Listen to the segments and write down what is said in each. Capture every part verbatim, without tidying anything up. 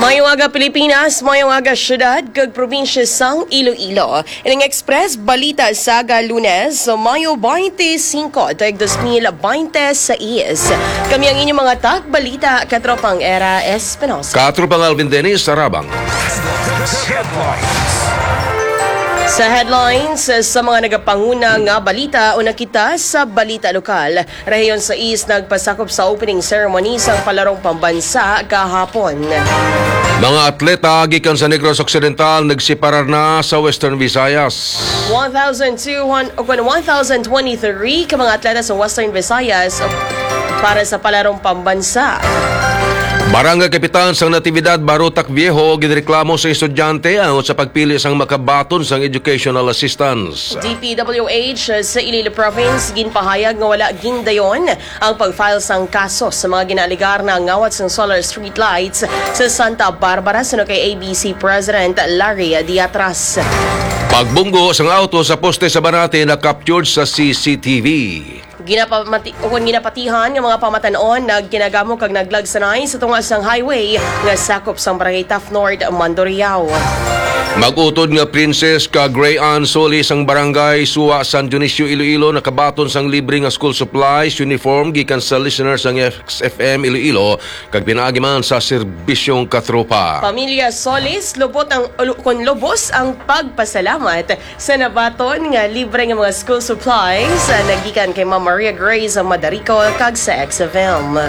Mayong aga, Pilipinas. Mayong aga, syudad kag probinsya sang Iloilo. Ining Express Balita sa aga, Lunes, Mayo twenty-five, tuig dos mil twenty-six. Kami ang inyong mga tagbalita, Katropang Era Espinosa. Katropang Alvin Dennis Arabang. Sa headlines, sa mga nagapanguna nga balita, una kita sa balita lokal. Rehiyon sais nagpasakop sa opening ceremony sang Palarong Pambansa kahapon. Mga atleta gikan sa Negros Occidental nagsiparar na sa Western Visayas. One thousand two hundred, o kun one thousand twenty-three ka mga atleta sa Western Visayas para sa Palarong Pambansa. Barangay Kapitan sang Natividad, Barotac Viejo, ginreklamo sa estudyante angot sa pagpili sang makabaton sang educational assistance. D P W H sa Iloilo Province ginpahayag nga wala gindayon ang pag-file sang kaso sa mga ginaalegar na ngawat sang solar street lights sa Santa Barbara, suno kay A B C President Larry Diatras. Pagbunggo sang auto sa poste sa Banate na-captured sa C C T V. Ginapamati-, o kun ginapatihan nga mga pamatan-on nagkinagamo kag naglagsanay sa tunga sang highway nga sakop sang Barangay Taft North, Mandurriao. Mag-utod nga Princess kag Gray Ann Solis ang Barangay Suwa, San Dionisio, Iloilo, nakabaton sang libre nga school supplies, uniform gikan sa listener sang X F M Iloilo kag pinaagi man sa serbisyong katropa. Pamilya Solis, lubot ang, lu-, kun lubos ang pagpasalamat sa nabaton nga libre nga mga school supplies, ah, nagikan kay Ma'am Maria Grace Madarico kag sa X F M.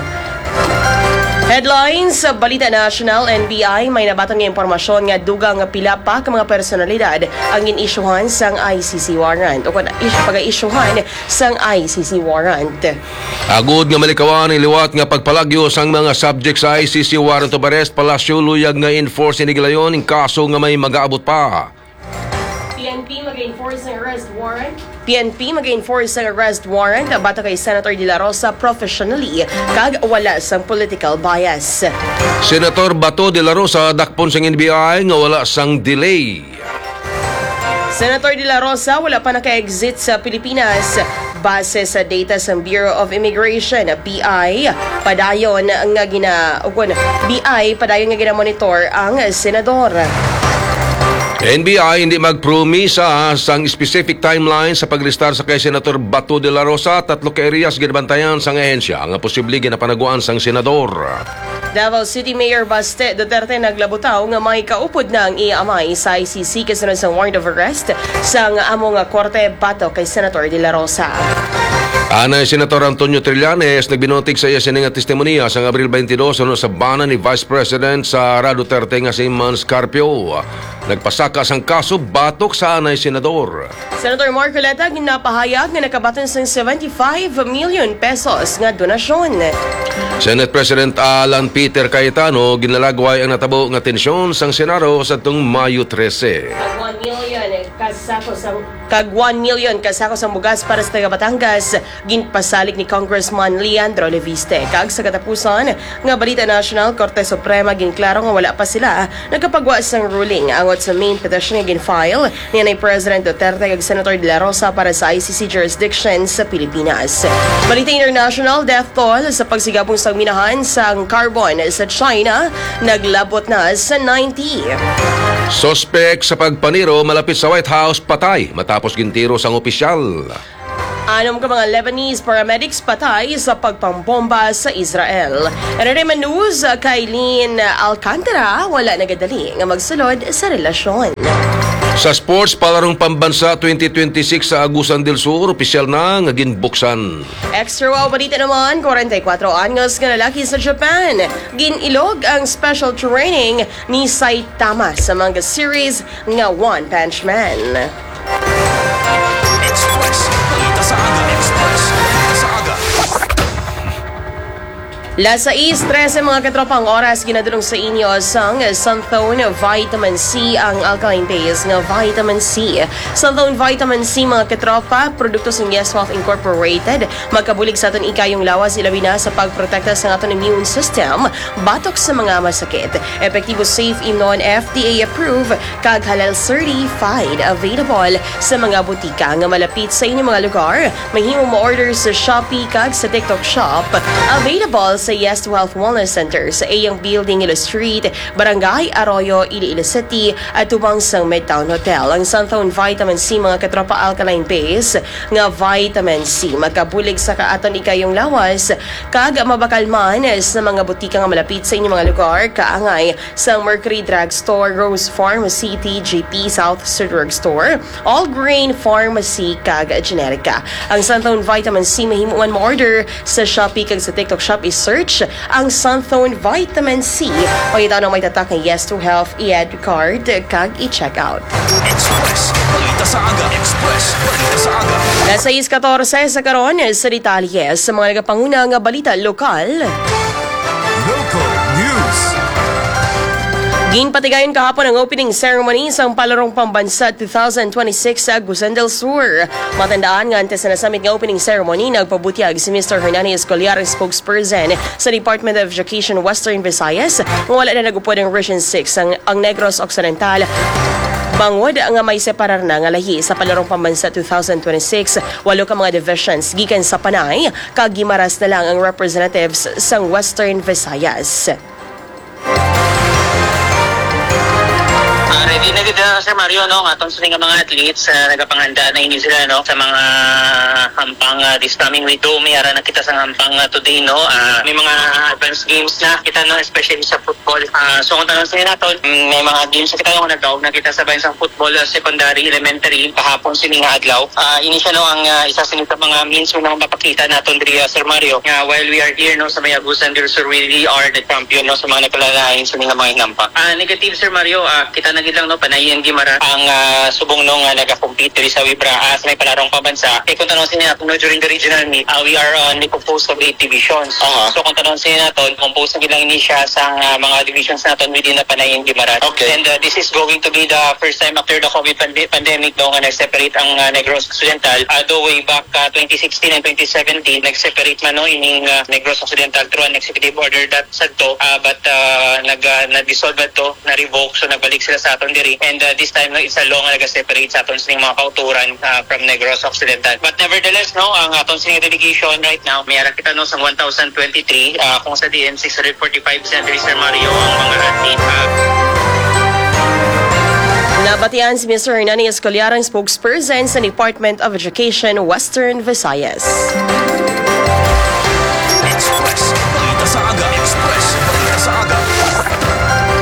Headlines sa Balita National, N B I, may nabaton nga impormasyon nga dugang nga pila pa ka mga personalidad ang gin-isyuhan sang I C C warrant o kun is-, pag-isyuhan sang I C C warrant. Agod nga malikawan ang liwat nga pagpalagyo sang mga subject sa I C C warrant of arrest, Palasyo luyag nga enforce ini gilayon ang kaso nga may magaabot pa. P N P mag-enforce ng arrest warrant. P N P mag-enforce ng arrest warrant batok kay Senator De La Rosa professionally kag wala sang political bias. Senator Bato De La Rosa dakpon sang N B I nga wala sang delay. Senator De La Rosa wala pa naka-exit sa Pilipinas. Base sa data sang Bureau of Immigration, B I, padayon nga gina-, o kun, B I, padayon nga ginamonitor ang senador. N B I hindi magpromisa sang specific timeline sa paglistar sa kay Senator Bato de la Rosa. Tatlo ka areas ginabantayan sang ahensya nga posible ginapanaguan sang senador. Davao City Mayor Baste Duterte naglabutaw nga may kaupod na ang iya amay sa I C C kasunod sang warrant of arrest sang amo nga korte batok kay Senator De La Rosa. Anay Senator Antonio Trillanes nagbinutig sa iya sini nga testimonya sang Abril twenty-two suno sa bana ni Vice President Sara Duterte nga si Mans Carpio. Nagpasaka sang kaso batok sa anay senador. Senator Marcoleta ginapahayag nga nakabaton sang seventy-five million pesos nga donasyon. Senate President Alan Peter Cayetano ginalagway ang natabo nga tensyon sang Senado sa tong Mayo trese. Kag one million kasako sang, kag one million kasako sang bugas para sa taga Batangas. Ginpasalig ni Congressman Leandro Leviste. Kag sa katapusan nga balita nasyonal, Korte Suprema ginklaro nga wala pa sila nakapagwa sang ruling angot sa main petition nga ginfile ni anay President Duterte kag Senator De La Rosa para sa I C C jurisdiction sa Pilipinas. Balita international, death toll sa pagsigabong sang minahan sang carbon sa China naglabot na sa ninety. Suspek sa pagpaniro malapit sa White House patay matapos gintiro sang opisyal. Anom ka mga Lebanese paramedics patay sa pagpambomba sa Israel. Entertainment news, kay Lynn Alcantara, wala nagadali nga magsulod sa relasyon. Sa sports, Palarong Pambansa twenty twenty-six sa Agusan del Sur, opisyal na nga ginbuksan. Extra wow balita naman, kwarenta y kuwatro anyos nga lalaki sa Japan. Gin-ilog ang special training ni Saitama sa manga series nga One Punch Man. Express. Balita sa aga. Express. Balita sa aga. Las sais trese, mga katropa, ang oras, ginadulong sa inyo sang Santhone Vitamin C, ang alkaline base nga vitamin C. Santhone Vitamin C, mga katropa, produkto sang Yes Health Incorporated. Magkabulig sa aton ikayong lawas, ilabi na sa pagprotekta sa aton immune system batok sa mga masakit. Epektibo, safe, imnon, F D A approved, kag halal certified. Available sa mga butika nga malapit sa inyong mga lugar. Mahimo mo-order sa Shopee kag sa TikTok Shop. Available sa Yes to Health Wellness Center sa iyang building, Ilo Street, Barangay Arroyo, Iloilo City, at tubang sang Midtown Hotel. Ang Santhone Vitamin C, mga katropa, alkaline base nga vitamin C, makabulig sa kaaton ikayong lawas, kag mabakal man sa mga butika nga malapit sa inyong mga lugar, kaangay sa Mercury Drug Store, Rose Pharmacy, T G P, South Sur Drug Store, All Grain Pharmacy, kag Generica. Ang Santhone Vitamin C mahimo man mo-order sa Shopee kag sa TikTok Shop. I-search ang Santhone Vitamin C. Pangita na may tatak nga Yes to Health, i-add card, kag i-check out. Express Balita sa Aga. Express Balita sa Aga. Las sais katorse sa karon sa detalye sa mga nagapanguna nga balita lokal. Local News. Ginpatigayon kahapon ang opening ceremony sang Palarong Pambansa two thousand twenty-six sa Agusan del Sur. Matandaan nga antes na nasamit nga opening ceremony, nagpabutyag si Mister Hernani Escoliar, ang spokesperson sa Department of Education Western Visayas, nga wala na nag-upod ang Region six, ang, ang Negros Occidental, bangod nga may separar na nga lahi sa Palarong Pambansa two thousand twenty-six. Walo ka mga divisions gikan sa Panay kag Guimaras na lang ang representatives sang Western Visayas. Ah, ready na gid, ah, Sir Mario, no? Ang aton sini nga mga athletes, ah, nagapanghanda na ini sila, no, sa mga hampang, ah, this coming week. Do may ara na kita sa hampang, ah, today, no? Ah, may mga advanced games na kita, no, especially sa football. Ah, so kung tanong sa naton, mm, may mga games na kita, no, nagdaog na kita sa bayan sa football, ah, secondary, elementary, kahapon sini nga adlaw. Ah, ini siya, no, ang, ah, isa sini sa mga means nga mapakita naton diri, ah, Sir Mario, nga while we are here, no, sa may Agusan del Sur, we really are the champion, no, sa mga nagkalalain sa mga hinampa. Ah, negative, Sir Mario, ah, kita na gid lang, no, Panayan Guimaras ang, ah, subong, no, nga nagakompete diri sa Wibra, ah, sa may Palarong Pambansa. Eh, kung tanong sa inyo, no, during the regional meet, ah, we are, ah, only composed of eight divisions. Aha. So, kung tanong sa inyo naton, composed na gid lang ini siya sa, ah, mga divisions naton within the Panayan Guimaras. Okay. And, ah, this is going to be the first time after the COVID pande-, pandemic, no, nga nag-separate ang, ah, Negros Occidental. Although way back, ah, twenty sixteen and twenty seventeen, nag-separate man, no, ining, ah, Negros Occidental through an executive order that sadto, ah, but, ah, nag, ah, na-dissolve adto, na-revoke, so nagbalik sila sa aton diri. And, ah, this time, no, it's a law nga nag-separate sa aton sining mga kauturan, ah, from Negros Occidental. But nevertheless, no, ang aton sining delegation right now, may ara kita, no, sa one thousand twenty-three, ah, kung sa D N six hundred forty-five, Sir Mario, ang mga athlete, ah. Nabatian si Mister Hernani Escoliar, ang spokesperson sa Department of Education, Western Visayas. Express Balita sa Aga. Express Balita sa Aga.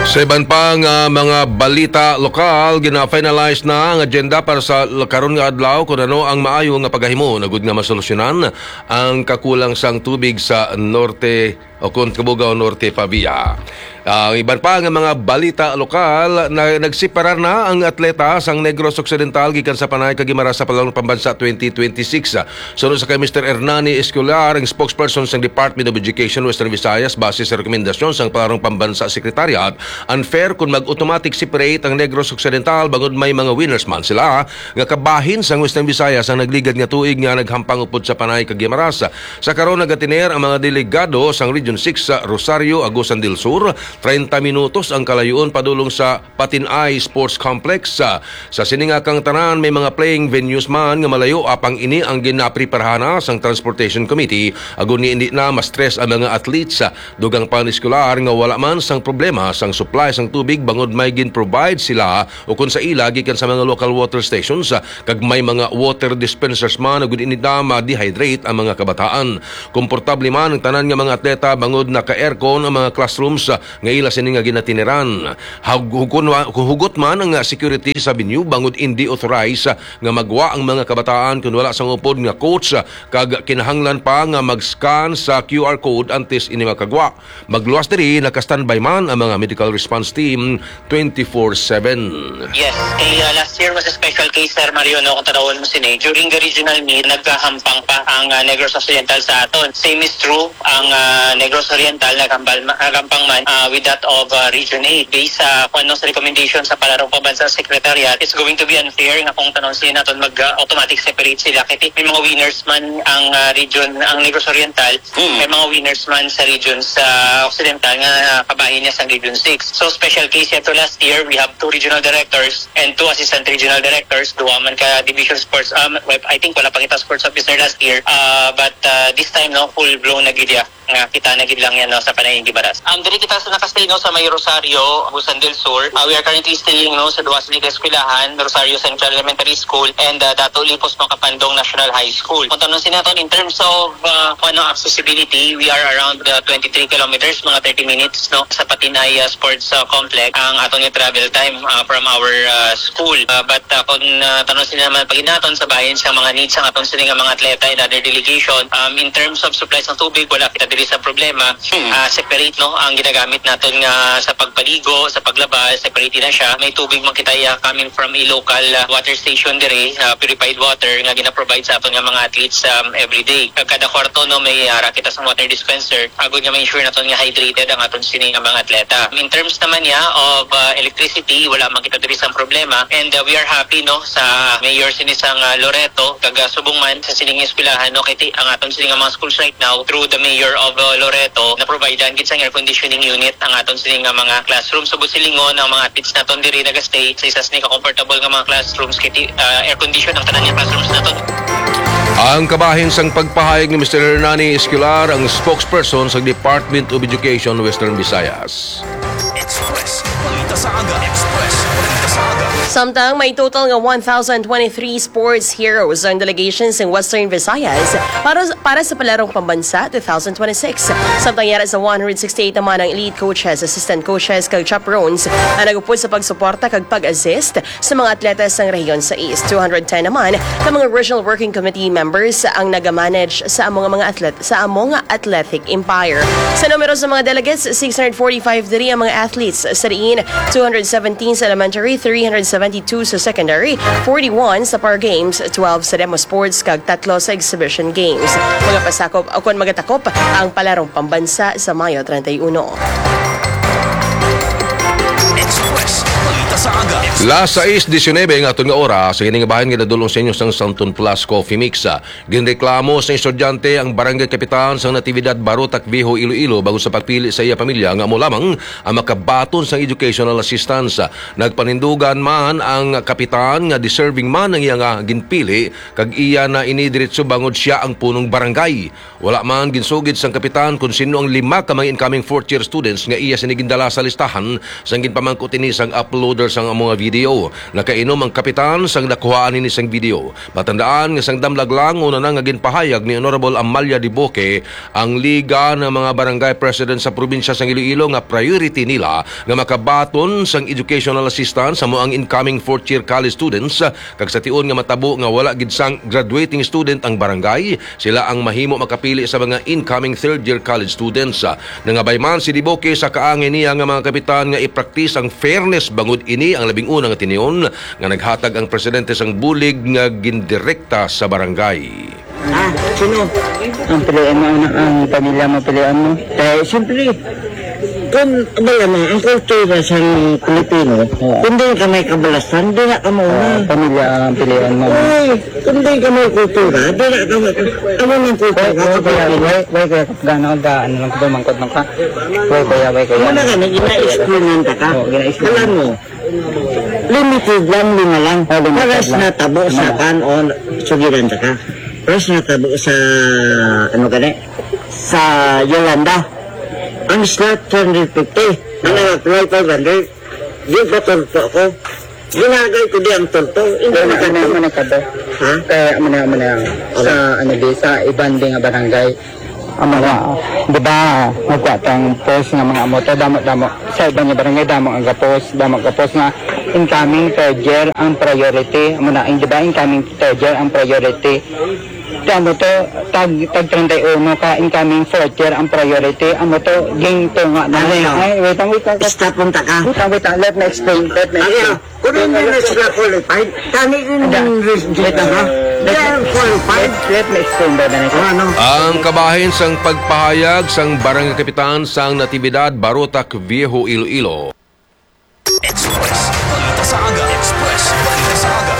Sa iban pa nga mga balita lokal, gina-finalize na ang agenda para sa l-, karon nga adlaw kung ano ang maayo nga pagahimo nagud nga masolusyonan ang kakulang sang tubig sa Norte o kon Cabugao Norte, Pavia. Ang iban pa nga mga balita lokal, na nagseparar na ang atleta sang Negros Occidental gikan sa Panay kag Guimaras sa Palarong Pambansa twenty twenty-six. Suno sa kay Mister Hernani Escolar, ang spokesperson sang Department of Education Western Visayas, base sa rekomendasyon sang Palarong Pambansa Secretariat, unfair kung mag-automatic separate ang Negros Occidental bangod may mga winners man sila nga kabahin sang Western Visayas ang nagligad nga tuig nga naghampang upod sa Panay kag Guimaras. Sa karon, nagatiner ang mga delegado sang Region six sa Rosario, Agusan del Sur. Treinta minutos ang kalayuon padulong sa Patinay Sports Complex. Sa, sa sini nga kangtanan, may mga playing venues man nga malayo, apang ini ang ginapreparahan na sang Transportation Committee, agod ni indi na ma-stress ang mga athletes. Dugang pa ni Escolar nga wala man sang problema sang supply sang tubig bangod may gin-provide sila o kon sa ila gikan sa mga local water stations, ah, kag may mga water dispensers man, ug hindi na ma-dehydrate ang mga kabataan. Komportable man ang tanan nga mga atleta bangod naka-aircon ang mga classrooms, ah, nga ila sini nga ginatiniran. Hug-, hugon-, hugot man ang, ah, security sa venue bangod hindi authorized, ah, nga magwa ang mga kabataan kun wala sang upod nga coach, ah, kag kinahanglan pa nga mag-scan sa Q R code antes ini makagwa. Magluwas diri, naka-standby man ang mga medical response team twenty-four seven. Yes, kay, uh, last year was a special case, Sir Mario, no, kung tanawon mo sini. During the regional meet, nagkahampang pa ang, uh, Negros Occidental sa aton. Same is true, ang, uh, Negros Oriental naghampal-, naghampang man, uh, with that of, uh, Region eight. Based sa, kung ano, sa recommendation sa Palarong Pambansa Secretariat, it's going to be unfair nga kung tanon sila naton mag, uh, automatic separate sila. Kay may mga winners man ang, uh, region, ang Negros Oriental, Mm. may mga winners man sa region sa Occidental nga kabahin niya sa Region six. So, special case yato last year, we have two regional directors and two assistant regional directors, duha man ka division sports, um, well, I think wala pa kita sports officer last year, uh, but, uh, this time, no, full blown na gid ya nga kita na gid lang yan, no, sa Panayeng Gibaras. Um, diri kita sa nakastay, no, sa may Rosario, Agusan del Sur. Uh, we are currently staying, no, sa duha sini ka eskwelahan, Rosario Central Elementary School and, uh, Dato Olivos Makapandong National High School. Kung tanon sila naton, in terms of, uh, kung ano, accessibility, we are around, uh, twenty-three kilometers, mga thirty minutes, no, sa Patinay, uh, Sports, uh, Complex, ang aton nga travel time, uh, from our, uh, school. Uh, but, uh, kung, uh, tanon sila naman paginaton sa bahin sa mga needs ang aton sini nga mga atleta and other delegation, um, in terms of supply sang tubig, wala kita diri sa problema. Hmm. Ah, separate, no, ang ginagamit naton nga sa pagpaligo, sa paglaba, separate na siya. May tubig man kita, ah, coming from a local, ah, water station diri, ah, purified water nga gina-provide sa aton nga mga athletes, um, every day. Kag kada kwarto, no, may, ah, ra kita sa water dispenser, agod nga ma-ensure naton nga hydrated ang aton sini nga mga atleta. In terms naman niya of, ah, electricity, wala man kita diri sang problema. And, ah, we are happy, no, sa mayor sini sang, ah, Loreto, kag, ah, subong man sa sining eskwelahan, no, kay ti-, ang aton sini nga mga schools right now, through the mayor of, uh, Loreto, na-providean gid sang air conditioning unit ang aton sini nga mga classroom. So, buot silingon, ang mga athletes naton diri nagastay sa isa sini ka comfortable nga mga classrooms, kay ti-, uh, air condition ang tanan nga classrooms naton. Ang kabahin sang pagpahayag ni Mister Hernani Escolar, ang spokesperson sa Department of Education Western Visayas. Express, balita sa aga. Express, balita sa aga. Samtang may total nga one thousand twenty-three sports heroes ang delegation sa Western Visayas para, para sa Palarong Pambansa two thousand twenty-six. Samtang yara sa one hundred sixty-eight naman ang elite coaches, assistant coaches, kag chaperones ang nagupod sa pagsuporta kag pag-assist sa mga atleta sang rehiyon sais. Two hundred ten naman ka mga Regional Working Committee members ang nagamanage sa amo nga mga atlet, sa amo nga athletic empire. Sa numero sa mga delegates, six hundred forty-five diri ang mga athletes sa diin, two hundred seventeen sa elementary, three hundred seventy-two sa secondary, forty-one sa Par Games, twelve sa Demo Sports, kag tatlo sa Exhibition Games. Magapasakop, o kon magatakop, ang Palarong Pambansa sa Mayo treinta y uno. Express, balita sa aga. Las sais diecinuebe ang aton nga oras. Sa ining bahin, ginadulong sa inyo sang Santon Plus Coffee Mix. Ginreklamo sa estudyante ang barangay kapitan sang Natividad, Barotac Viejo, Iloilo, bangod sa pagpili sa iya pamilya nga amo lamang ang makabaton sang educational assistance. Nagpanindugan man ang kapitan nga deserving man ang iya nga ginpili, kag iya na ini diretso bangod sia ang punong barangay. Wala man ginsugid sang kapitan kon sin-o ang lima ka mga incoming fourth year students nga iya sini gindala sa listahan sang ginpamangkot ini sang uploader sang amo nga video. Nakainom ang kapitan sang nakuhaan ini sang video. Matandaan nga sang damlag lang una na nga ginpahayag ni Honorable Amalia Diboque ang Liga ng mga Barangay President sa probinsya sang Iloilo nga priority nila nga makabaton sang educational assistance amo ang incoming fourth year college students, kag sa tion nga matabo nga wala gid sang graduating student ang barangay, sila ang mahimo makapili sa mga incoming third year college students. Nangabay man si Diboque sa kaangay niya nga mga kapitan nga ipraktis ang fairness bangod ini ang labing una nga tinion nga naghatag ang presidente sang bulig nga gindirekta sa barangay. Ah, sino? Ang piliin mo, anak, ang pamilya mo, piliin mo. Eh, siyempre, kung, abala mo, ang kultura sa Pilipino, Oo. kung doon ka may kabalasan, doon na ka mauna. Oo, pamilya ang piliin mo. Uy, kung doon ka may kultura, doon na ka may, amo ng kultura Wait, wait, sa kuya, Pilipino. wait, wait, kuya, gano'n ka, ano lang, pamangkot lang ka. Wait, kuya, wait, kuya. Muna ka, nag-ina-explain ta ka. Oo, gina-explain. Alam mo, limited lang, lima lang. Oh, limited Paras lang. Natabo sa Lima lang. Kan-on, sugiran ta ka. Paras natabo sa, ano gani, sa Yolanda. Ang slot, two hundred fifty. Ang nag-apply, five hundred. Di ba tulpo ako? Ginagay ko di ang tulpo. Hindi Ano, na ano, ano, ano ka ba? Ha? Kaya, ano, ano, ano, Ano? sa, ano, di, sa iban di nga barangay. Amo na, di ba, nagkuha tang post nga mga amo to, damo-damo. Sa iban nga barangay, damo ang gapos, damo ang gapos nga incoming third year ang priority. Amo na, di ba, incoming third year ang priority. Damo to, tag, tag treinta y uno ka incoming fourth year ang priority. Amo to, ging tunga na. Ano yun? Ay, wait lang, wait lang. Stop, punta ka. Wait lang, wait lang. Let me explain. Let me Ano explain. yun? Kung hindi na sila qualified, kani rin Hindi. yung res-, Wait lang, ha? Let, let me explain, Brother Nico. Ano? Ang kabahin sang pagpahayag sang Barangay Kapitan sang Natividad, Barotac Viejo, Iloilo. Express. Balita sa aga. Express. Balita sa aga.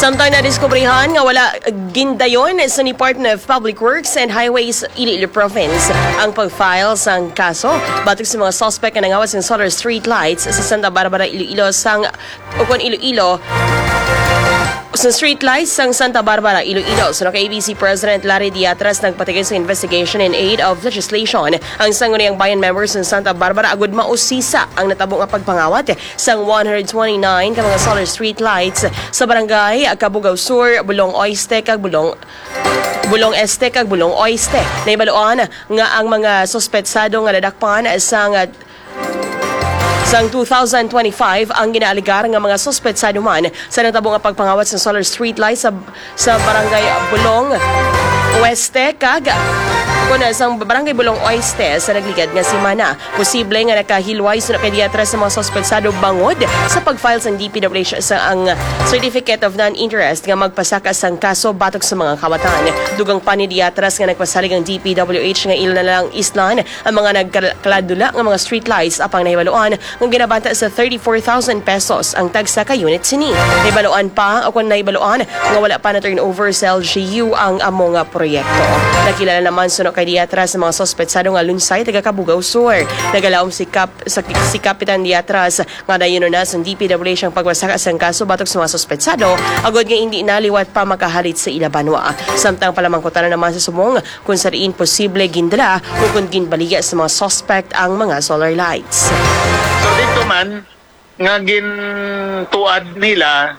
Samtang nadiskubrihan nga wala gindayon sa Department of Public Works and Highways, Iloilo Province, ang pag-file sang kaso batok sa mga suspect nga nangawat sang solar street lights sa Santa Barbara, Iloilo, sang, o kon Iloilo, sa street lights sang Santa Barbara, Iloilo. Suno kay A B C President Larry Diatras, nagpatigil sa investigation in aid of legislation ang Sangguniang Bayan members sa Santa Barbara agud mausisa ang natabo nga pagpangawat sang one hundred twenty-nine ka mga solar street lights sa barangay Cabugao Sur, Bulong Oeste, kag Bulong, Bulong Este, kag Bulong Oeste. Nahibaluan nga ang mga suspetsado nga nadakpan sang, sang two thousand twenty-five ang ginaaligar nga mga suspetsado man sa natabo nga pagpangawat sa solar street lights sa, sa barangay Bulong Oeste kag, kun, sa barangay Bulong Oeste sa nagligad nga semana. Posible nga nakahilway suno kay Diatras sa mga suspetsado bangod sa pag-file sang D P W H sa ang Certificate of Non-Interest nga magpasaka sang kaso batok sa mga kawatan. Dugang pa ni Diatras nga nagpasalig ang D P W H nga ila na lang islan ang mga nagkaladula nga mga street lights, apang nahibaluan nga ginabanta sa thirty-four thousand pesos ang tagsa ka unit sini. Nahibaluan pa, o kon nahibaluan, nga wala pa na-turnover sa L G U ang amo nga proyekto. Nakilala naman suno kay Diatras sa mga suspetsado nga lunsay taga Cabugao Sur. Nagalaom si Kap-, sa, si Kapitan Diatras nga dayon na sang D P W H ang pagpasaka sang kaso batok sa mga suspetsado, agod nga indi na liwat pa makahalit sa ila banwa. Samtang palamangkutan naman sa subong kung sa diin posible gindala o kung ginbaligya sa mga suspect ang mga solar lights. So, dito man nga gintuad nila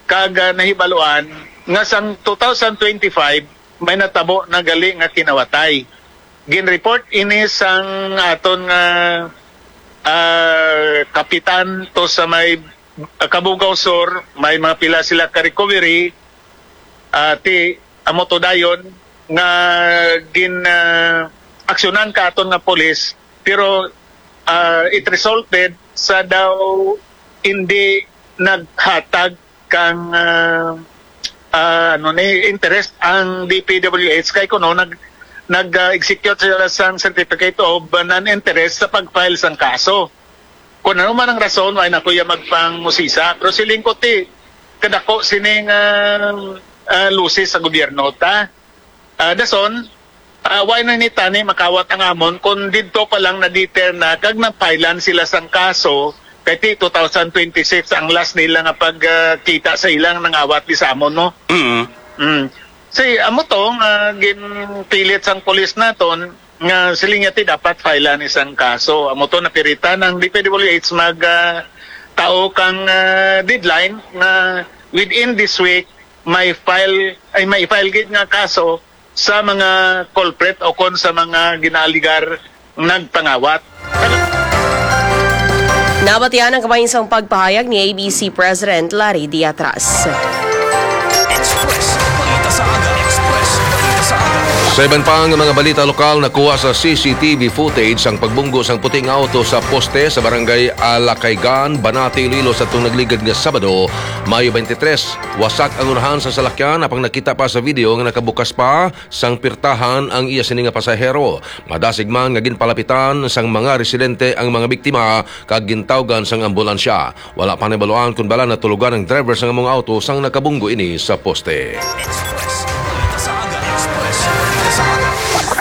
kag, ah, nahibaluan nga sang two thousand twenty-five may natabo na gali nga kinawatay. Ginreport ini sang aton nga, ah, kapitan to sa may, ah, Cabugao Sur, may mga pila sila ka recovery, ah, ti amo to dayon nga gin, ah, aksyonan ka aton nga pulis, pero, ah, it resulted sa daw hindi naghatag kang, ah, ah, ano ni, interest ang D P W H kay kuno nag, nag, ah, execute sila sang certificate of non-interest sa pag-file sang kaso. Kung ano man ang rason, wala na ko iya magpangusisa. Pero siling ko ti, kadako sining, ah, ah, lusis sa gobyerno ta. Ah, dason, ah, wala na ni tani makawat ang amon kung didto pa lang na-deter na kag napailan sila sang kaso kay ti two thousand twenty-six ang last nila nga pagkita sa ilang nangawat di sa amon, no? Mm. Mm. Si, amo to nga ginpilit sang pulis naton nga siling niya ti dapat file-an isang kaso. Amo to napiritan ang D P W H mag, ah, tao kang, ah, deadline nga within this week may file, ay, may file gid nga kaso sa mga culprit o kon sa mga ginaaligar nagpangawat. Nabatian ang kabahin sang pagpahayag ni A B C President Larry Diatras. Express. Balita sa aga. Express. Balita sa aga. Sa iban pa nga mga balita lokal, nakuha sa C C T V footage ang pagbunggo sang puting auto sa poste sa barangay Alacaygan, Banate, Iloilo, sa tong nagligad nga Sabado, Mayo twenty-three. Wasak ang unahan sa salakyan, apang nakita pa sa video nga nakabukas pa sang pirtahan ang iya sini nga pasahero. Madasig man nga ginpalapitan sang mga residente ang mga biktima kag gintawgan sang ambulansya. Wala pa nahibaluan kon bala natulugan ang driver sang among auto sang nakabunggo ini sa poste.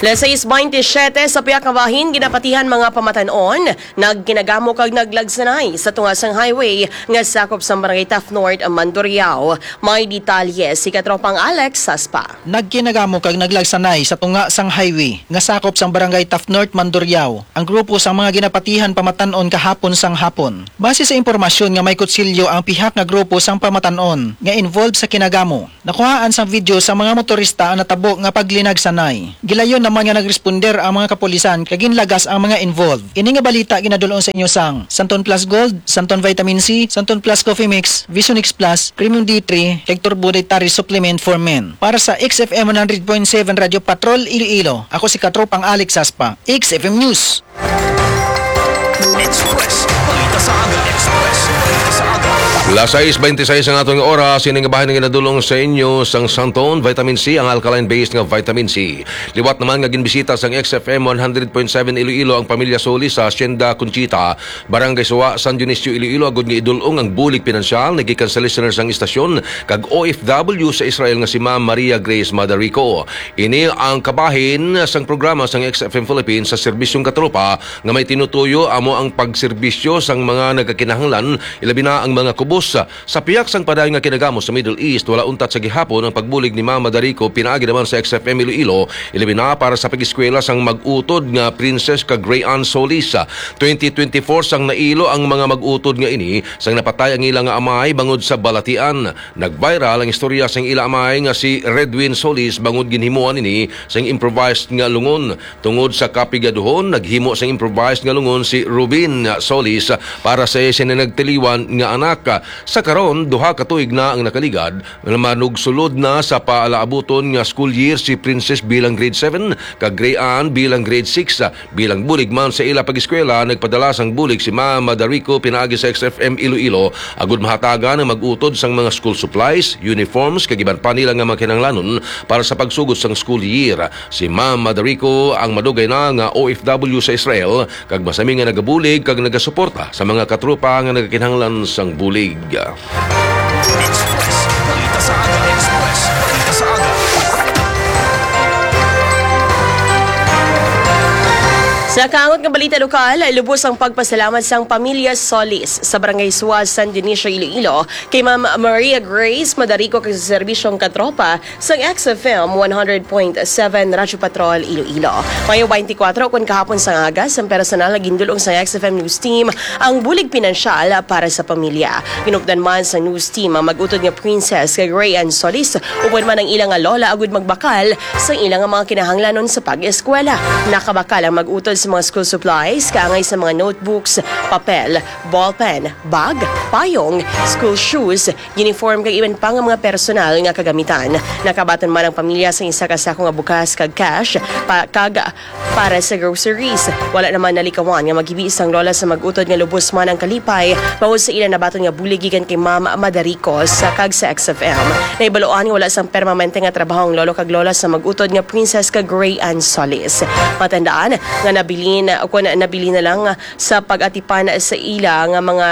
Las sais baynte siyete, sa pihak nga bahin, ginapatihan mga pamatan-on, nagkinagamo kag naglagsanay sa tunga sang highway nga sakop sang Barangay Taft North, Mandurriao. May detalye si Katropang Alex Saspa. Nagkinagamo kag naglagsanay sa tunga sang highway nga sakop sang Barangay Taft North, Mandurriao, ang grupo sang mga ginapatihan pamatan-on kahapon sang hapon. Base sa impormasyon nga may kutsilyo ang pihak nga grupo sang pamatan-on nga involved sa kinagamo, nakuhaan sang video sa mga motorista ang natabo nga paglinagsanay. Gilayon naman nga nagresponder ang mga kapulisan kag ginlagas ang mga involved. Ini nga balita ginadul-ong sa inyo sang Santon Plus Gold, Santon Vitamin C, Santon Plus Coffee Mix, Vision X Plus, Premium D three, kag Turbo Dietary Supplement for Men. Para sa X F M one hundred point seven Radio Patrol Iloilo, ako si Katropang Alex Saspa, X F M News. Express. Balita sa aga. Express. Balita sa aga. Las sais bente sais ang aton oras, ini nga bahin nga ginadulong sa inyo sang Santon Vitamin C, ang alkaline-based nga vitamin C. Liwat naman nga ginbisita sang X F M one hundred point seven Iloilo ang pamilya Solis sa Hacienda Conchita, Barangay Suwa, San Dionisio, Iloilo, agud nga idulong ang bulig pinansyal nagikan sa listeners sang istasyon kag O F W sa Israel nga si Ma'am Maria Grace Madarico. Ini ang kabahin sang programa sang X F M Philippines sa Serbisyong Katropa nga may tinutuyo amo ang pagserbisyo sang mga nagakinahanglan, ilabi na ang mga kubos. Sa pihak sang padayon nga kinagamo sa Middle East, wala untat sa gihapon ang pagbulig ni Ma'am Madarico pinaagi naman sa X F M Iloilo, ilabi na para sa pag-eskwela sang mag-utod nga Princess kag Ray Ann Solis. Twenty twenty-four sang nailo ang mga mag-utod nga ini sang napatay ang ila nga amay bangod sa balatian. Nag-viral ang istorya sang ila amay nga si Redwin Solis bangod ginhimuan ini sang improvised nga lungon. Tungod sa kapigaduhon, naghimo sang improvised nga lungon si Rubin Solis para sa iya sina nagtiliwan nga anak. Sa karon, duha ka tuig na ang nakaligad, manugsulod na sa paalaabuton nga school year si Princess bilang grade seven, kag Ray Ann bilang grade six. Bilang bulig man sa ila pag-eskwela, nagpadala sang bulig si Ma'am Madarico pinaagi sa X F M Iloilo, agud mahatagan ang mag-utod sang mga school supplies, uniforms, kag iban pa nila nga mga kinahanglanon para sa pagsugod sang school year. Si Ma'am Madarico ang madugay na nga O F W sa Israel, kag masami nga nagabulig kag nagasuporta sa mga katropa nga nagakinahanglan sang bulig. Express. Balita sa aga. Express. Balita sa aga. Sa kaangot nga balita lokal, lubos ang pagpasalamat sang pamilya Solis sa Barangay Suaz, San Dionisio, Iloilo, kay Ma'am Maria Grace Madarico kag sa serbisyong katropa sang X F M one hundred point seven Radyo Patrol, Iloilo. Mayo twenty-four, kun kahapon sang aga, sang personal nga gindulong sang X F M News Team ang bulig pinansyal para sa pamilya. Ginupdan man sa news team ang mag-utod nga Princess kag Ray Ann Solis, upod man ang ila nga lola, agud magbakal sa ila nga mga kinahanglanon sa pag-eskwela. Nakabakal ang mag-utod sa mga school supplies, kaangay sa mga notebooks, papel, ballpen, bag, payong, school shoes, uniform, kag iban pa nga mga personal nga kagamitan. Nakabaton man ang pamilya sa isa ka sako nga bugas kag cash pa, kag para sa groceries. Wala naman nalikawan nga maghibi sang lola sa mag-utod nga lubos man ang kalipay bangod sa ila nabaton nga bulig gikan kay Ma'am Madarico sa, kag sa X F M. Nahibaluan nga wala sang permanente nga trabaho ang lolo kag lola sa mag-utod nga Princess kag Ray Ann Solis. Matandaan nga nabilin, kun nabilin na lang sa pag-atipan sa ila nga mga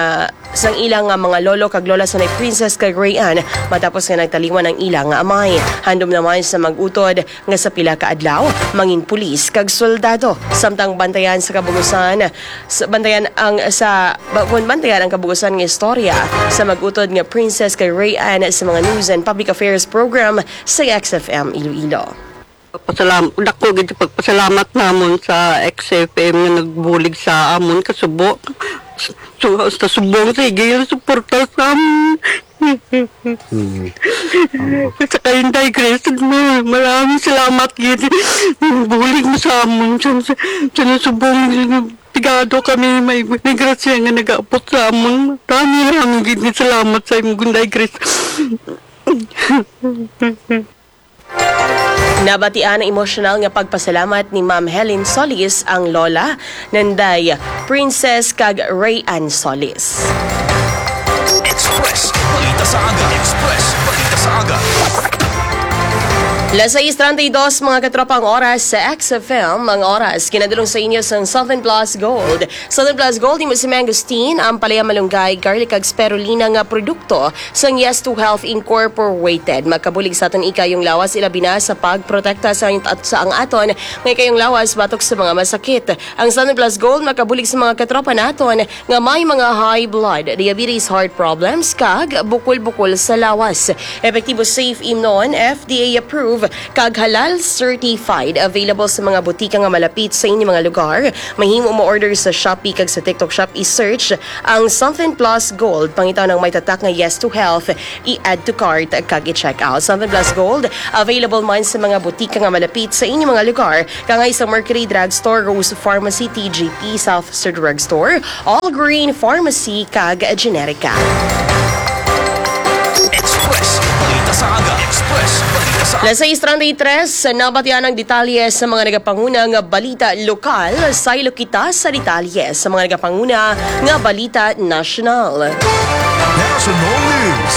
sang ila nga mga lolo kag lola sa nay Princess kag Ray Ann matapos nga nagtaliwan ang ila nga amay. Handom naman sa mag-utod nga sa pila ka adlaw mangin pulis kag soldado, samtang bantayan sa kabugusan, sa, bantayan ang sa ba- kun bantayan ang kabugusan nga istorya sa mag-utod nga Princess kag Ray Ann sa mga News and Public Affairs Program sa X F M Iloilo. Pasalam, dako gid pagpasalamat namon sa X F M nga nagbulig sa amon kasubo. So, sa subong, sige, suporta sa amon. Mm. Sa kay Inday Grace, maraming salamat gid. Bulig mo sa amon. Sa, sa, sa subong, pigado kami, may, may grasya nga nag-aabot sa amon. Maraming, maraming gid salamat sa imo, Inday Grace. Nabatian ang emosyonal nga pagpasalamat ni Ma'am Helen Solis, ang lola nanday Princess kag Ray Ann Solis. Express, balita sa aga. Express, balita sa aga. Las sais treinta y dos, mga katropa, ang oras sa X F M. Ang oras ginadulong sa inyo sang Southern Plus Gold. Southern Plus Gold, imo si Mangosteen, ang palaya malunggay, garlic, kag spirulina nga produkto sang Yes to Health Incorporated. Makabulig sa aton ikayong lawas, ilabi na sa pagprotekta sa, at sa ang aton nga ikayong lawas batok sa mga masakit. Ang Santon Plus Gold makabulig sa mga katropa naton nga may mga high blood, diabetes, heart problems, kag bukol-bukol sa lawas. Epektibo, safe, imnon, F D A approved, kag halal certified. Available sa mga butika nga malapit sa inyong mga lugar. Mahimo mo order sa Shopee kag sa TikTok Shop. I-search ang Something Plus Gold. Pangitaw ng may tatak nga Yes to Health. I-add to cart kag i-check out. Something Plus Gold, available man sa mga butika nga malapit sa inyong mga lugar. Kangay sa Mercury Drugstore, Rose Pharmacy, T G P, South Sir Drugstore, All Green Pharmacy, kag Generica. Express, balita sa aga. Express, balita sa aga. Las sais treinta y tres, nabatian ang detalye sa mga nagapangunang balita lokal. Saylo kita sa detalye sa mga nagapanguna nga balita nasyonal. Now, National News.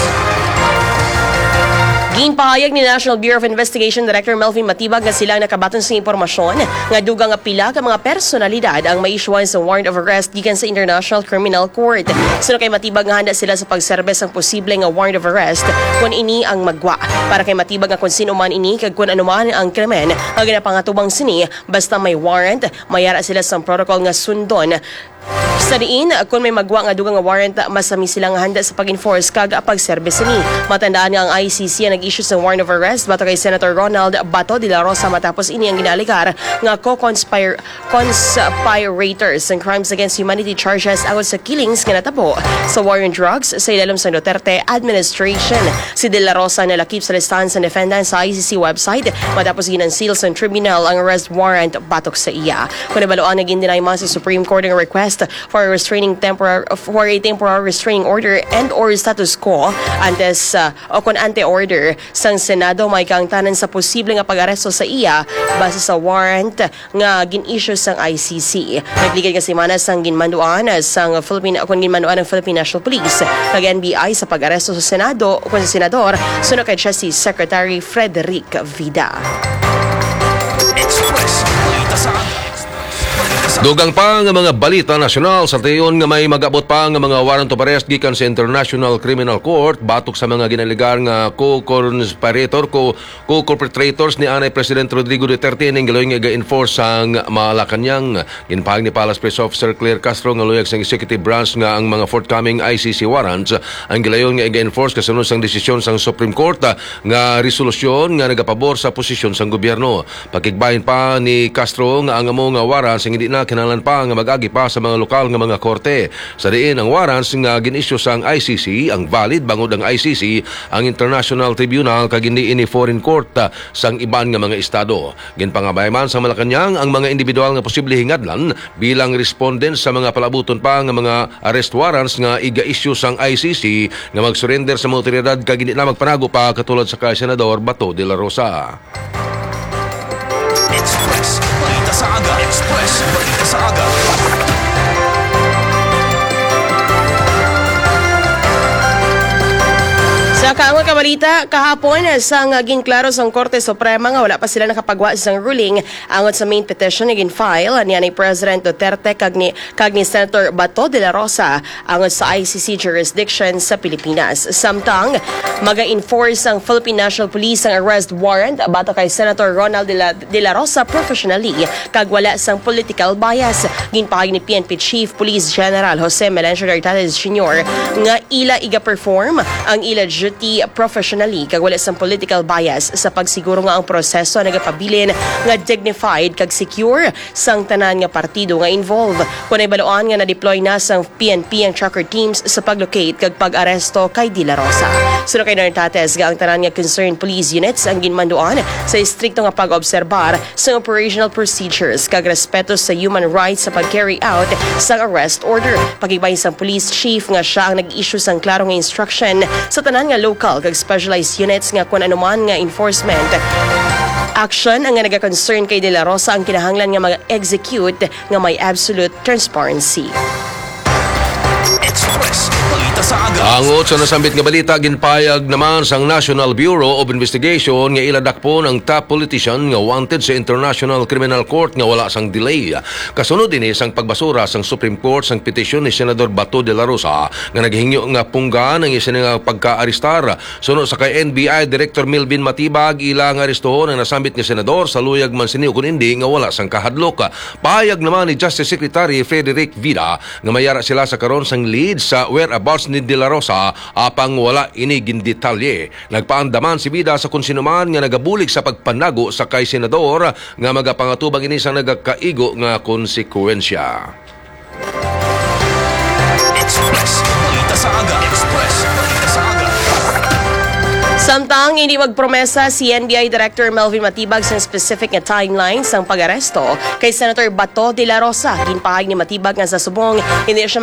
Ginpahayag ni National Bureau of Investigation Director Melvin Matibag nga sila ang nakabaton sa impormasyon nga dugang nga pila ka mga personalidad ang maisyuhan sa warrant of arrest gikan sa International Criminal Court. Suno kay Matibag nga handa sila sa pagserbe sang posible nga warrant of arrest kon ini ang magwa. Para kay Matibag nga kon sino man ini kag kon ano man ang krimen nga ginapangatubang sini, basta may warrant, mayara sila sang protocol nga sundon. Sa diin, kung may magwa nga dugang nga warrant, masami sila nga handa sa pag-enforce kag pagserbe sini. Matandaan nga ang I C C ang nag-issue sa warrant of arrest batok kay Senator Ronald Bato de la Rosa matapos ini ang ginaalegar nga co-conspir-, conspirators sang crimes against humanity charges angot sa killings nga natabo sa war on drugs sa ilalom sang Duterte administration. Si de la Rosa nalakip sa listahan sa defendant sa I C C website matapos gin-unseal sang tribunal ang arrest warrant batok sa iya. Kung nabaluan nga gin-deny man sa Supreme Court ang request for a restraining temporar-, for a temporary restraining order and or status quo antes, uh, o kon ante order sang Senado, may kaangtanan sa posible nga pag-aresto sa iya base sa warrant nga gin-issue sang I C C. Nagligad nga semana sang ginmanduan sang Philippine, o kon ginmanduan ang Philippine National Police kag N B I sa pag-aresto sa Senado o kon sa senador, suno kay Justice Secretary Frederick Vida. Express. Balita sa aga. Dugang pa nga mga balita nasyonal, sa tion nga may mag-abot pa nga mga warrant of arrest gikan sa International Criminal Court batok sa mga ginalegar nga co-conspirator, co-, co-perpetrators ni anay President Rodrigo Duterte ning galoy nga ga-enforce sang Malacañang. Ginpahayag ni Palace Press Officer Claire Castro nga luyag sang executive branch nga ang mga forthcoming I C C warrants ang gilayon nga iga-enforce kasunod sang desisyon sang Supreme Court, ah, nga resolusyon nga nagapabor sa posisyon sang gobyerno. Pakigbahin pa ni Castro nga ang amo nga warrants hindi na kinahanglan pa nga mag-agi pa sa mga lokal nga mga korte, sa diin ang warrants nga gin-issue sang I C C ang valid bangod ang I C C ang international tribunal kag hindi ini foreign court, ah, sang iban nga mga estado. Ginpangabay man sang Malacañang ang mga individual nga posible hingadlan bilang respondent sa mga palabuton pa nga mga arrest warrants nga iga-issue sang I C C nga mag-surrender sa mga awtoridad kag hindi na magpanago pa katulad sa kay Senador Bato de la Rosa. Express Balita sa Aga. Express Balita sa Aga. Sa kaangol ka balita, kahapon, sang ginklaro sang Korte Suprema nga wala pa sila nakapagwa sang ruling angot sa main petition nga gin-file ni anay President Duterte kag ni, kag ni Senator Bato de la Rosa angot sa I C C jurisdiction sa Pilipinas. Samtang, maga-enforce ang Philippine National Police ang arrest warrant batok kay Senator Ronald de la, de la Rosa professionally kag wala sang political bias. Ginpahayag ni P N P Chief Police General Jose Melencio Nartates Junior nga ila iga-perform ang ila duty professionally kag wala sang political bias sa pagsiguro nga ang proseso nagapabilin nga dignified kag secure sang tanan nga partido nga involved. Kon nahibaluan nga na-deploy na sang P N P ang tracker teams sa pag-locate kag pag-aresto kay De La Rosa. Suno kay Nartates nga ang tanan nga concerned police units ang ginmanduan sa estrikto nga pag-obserbar sa operational procedures kag respeto sa human rights sa pag-carry out sang arrest order. Pakigbahin sang police chief nga sia ang nag-issue sang klaro nga instruction sa tanan nga local kag specialized units nga kon anuman nga enforcement action ang nga naga-concern kay De La Rosa ang kinahanglan nga mag-execute nga may absolute transparency. Express Balita sa Aga. Angot sa nasambit nga balita, ginpayag naman sang National Bureau of Investigation nga ila dakpon ang top politician nga wanted sa International Criminal Court nga wala sang delay. Kasunod ini sang pagbasura sang Supreme Court sang petisyon ni Senador Bato de la Rosa nga naghingyo nga punggan ang iya sini nga pagkaarestar. Suno sa kay N B I Director Melvin Matibag, ila nga arestohon ang nasambit nga senador sa luyag man sini ukon indi nga wala sang kahadlok. Pahayag naman ni Justice Secretary Frederick Vida nga mayara sila sa karon sang lead sa whereabouts ni De La Rosa, apang wala ini gindetalye. Nagpaandaman si Vida sa kon sino man nga nagabulig sa pagpanago sa kay senador nga magapangatubang ini sa nagakaigo nga konsekwensya. Express Balita sa Aga. Express Balita sa Aga. Samtang hindi magpromesa si N B I Director Melvin Matibag sa specific nga timeline sang pag-aresto kay Senator Bato de la Rosa, ginpahayag ni Matibag nga sa subong hindi siya